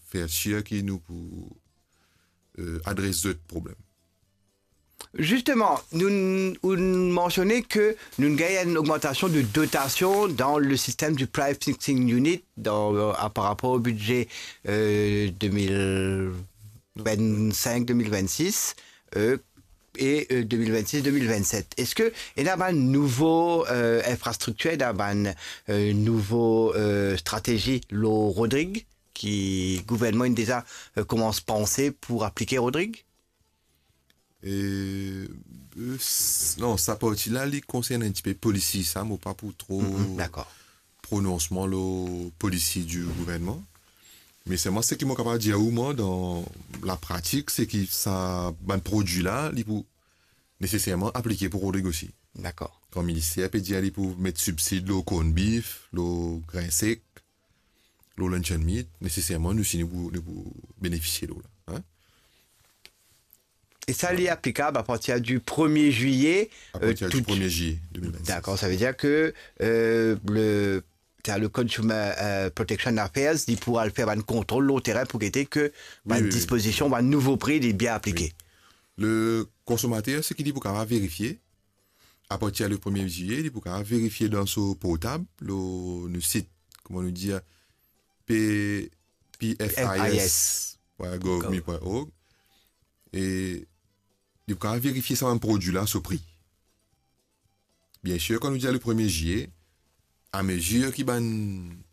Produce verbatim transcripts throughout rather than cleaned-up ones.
fer sir ki nou pou, eh, adres zot problem. Zisteman, nou, ou mansione ke nou gagn enn ogmantasion de dotasion dan le sistem du price fixing unit dan, eh, par rapor o bidze, eh, de mil vennsenk, de mil vennsis, eh, e, eh, de mil vennsis, de mil vennset. Eski ena bann nouvo, eh, infrastriktir, ena bann, eh, nouvo, eh, stratezi lor Rodrig ki gouvernman inn deza, eh, koumans panse pou aplike Rodrig? Eh, eh, s-, non, sa parti la, li konsern enn tipe polisi, sa, mo pa pou tro Mhm, dakor. prononsman lor polisi di gouvernman. Me selman seki mo kapav dir ou, mwa, dan lapratik, se ki sa bann prodwi la, li pou neseserman aplike pou Rodrig osi. Dakor. Kan minister pe dir li pou met sibsid lor corned beef, lor grin sek, lor luncheon meat, neseserman nou osi nou pou, nou pou benefisie lor la, hein? E sa, li aplikab apartir di premie zilye, A partir eh, di tout premie zilye de mil vennsis. Dakor, sa ve dir ke, eh, le, ta le Consumer, eh, Protection Affairs, li pou al fer bann kontrol lor terin pou gete ke Wi, bann wi, wi. dispozision, bann nouvo pri, li bien aplike. Wi. Le konsomater, seki li pou kapav verifie, apartir le premie zilye, li pou kapav verifie dan so portab, lor nou sit, kouma nou dir, P-, P F I S point gov mi point org. E li pou kapav verifie sa bann prodwi la, so pri. Biensir, kan nou dir le premie zilye, amezir ki bann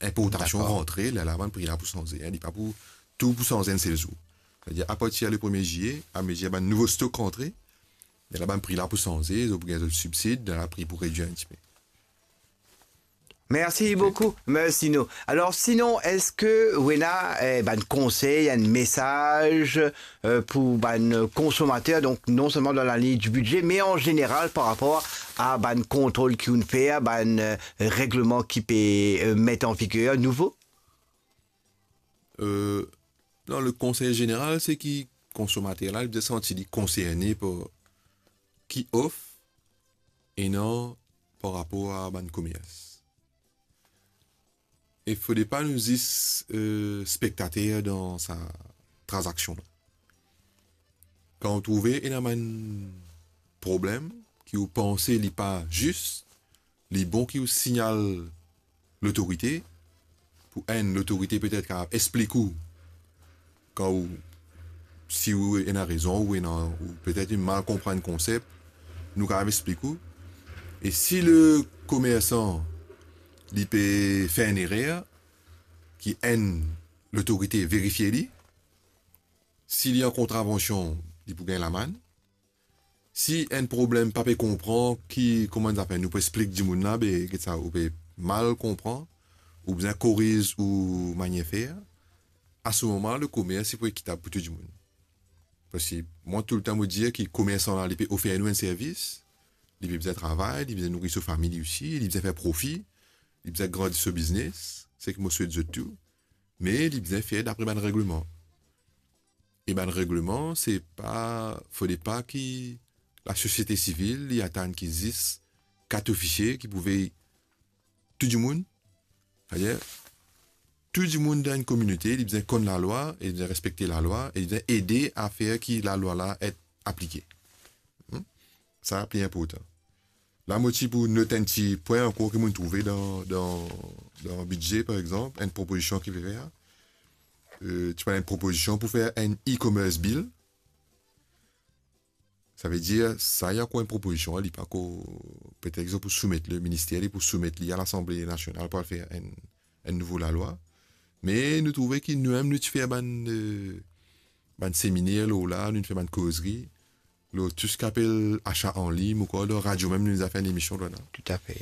inportasion Dakor. rantre, lerla bann pri la pou sanze, hein, li pa pou, tou pou sanze enn sel zour. Setadir, apartir le premie zilye, amezir bann nouvo stok rantre, lerla bann pri la pou sanze, zot pou gagn zot sibsid, lerla pri pou redwir enn tipe. Mersi Ok. boukou, mersi nou. Alor, sinon, eski ou ena, eh, bann konsey, enn mesaz, eh, pou bann konsomater, donk non selman dan laliny di bidze, me an zeneral par rapor a bann kontrol ki ou'nn fer, bann, eh, regleman ki pe, eh, met an viger nouvo? Eh, non, le konsey zeneral, se ki konsomater la, li bizin santi li konserne par ki of ena par rapor a bann komers. E fode pa nou zis, eh, spektater dan sa tranzaksion la. Kan ou trouve ena bann problem ki ou panse li pa zis, li bon ki ou signal lotorite, pou enn, lotorite petet kapav explik ou, kan ou, si ou ena rezon, ou ena, ou petet ou mal konpran enn konsep, nou kapav explik ou. E si le komersan, li pe fer enn erer, ki enn, lotorite verifie li, si li an kontravansion, li pou gagn lamann. Si enn problem pa pe konpran ki, kouma enn zafer, nou pou explik dimoun la, be, get sa, ou pe mal konpran, ou bizin koriz ou manier fer, a se moman, le komers, li pou ekitab pou tou dimoun. Parski mwa, toultan, mo dir ki komersan la, li pe ofer nou enn servis, li pe bizin travay, li bizin nouri so fami li osi, li bizin fer profi, li bizin grandi so biznes, seki mo swet zot tou, me li bizin fer dapre bann regleman. E bann regleman, se pa, fode pa ki lasosiete sivil, li atann ki zis kat ofisie ki pou vey tou dimoun. Setadir, tou dimoun dan enn kominote, li bizin konn lalwa, e li bizin respekte lalwa, e li bizin ede a fer ki lalwa la et aplike. Hmm? Sa pli inportan. La, mo ti pou not enn ti pwin ankor ki mo'nn trouve dan, dan, dan bidze, par exanp, enn propozision ki pe fer. Eh, ti pou enn propozision pou fer enn e-commerce bill. Savedir, sa, li ankor enn propozision, li pa ankor, petet zot pou soumet le minister, li pou soumet li a Lasanble Nasional pou al fer enn, enn nouvo lalwa. Me nou trouve ki nou mem, nou ti fer bann, eh, bann seminer lor la, nou fer bann kozri lor tou seki apel asa an lign, mo krwar dan radio mem, nou deza fer enn emision lor la. Toutafe.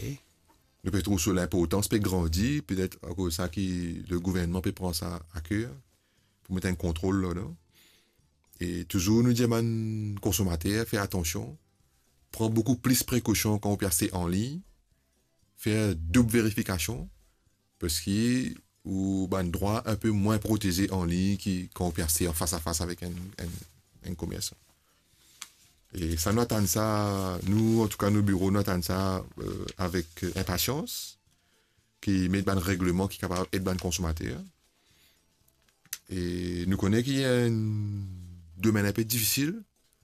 Nou pe trouv so linportans pe grandi, petet akoz sa ki le gouvernman pe pran sa a ker, pou met enn kontrol ladan. E touzour nou dir bann konsomater, fer atansion, pran boukou plis prekosion kan ou pe aste an lign, fer doub verifikasion, parski ou bann drwa enpe mwin proteze an lign ki kan ou pe aste an fas a fas avek enn, enn, enn komersan. E sa, nou atann sa, nou, antouka, nou biro, nou atann sa, eh, avek, eh, inpasians, ki met bann regleman ki kapav ed bann konsomater. E nou kone ki enn domenn inpe difisil,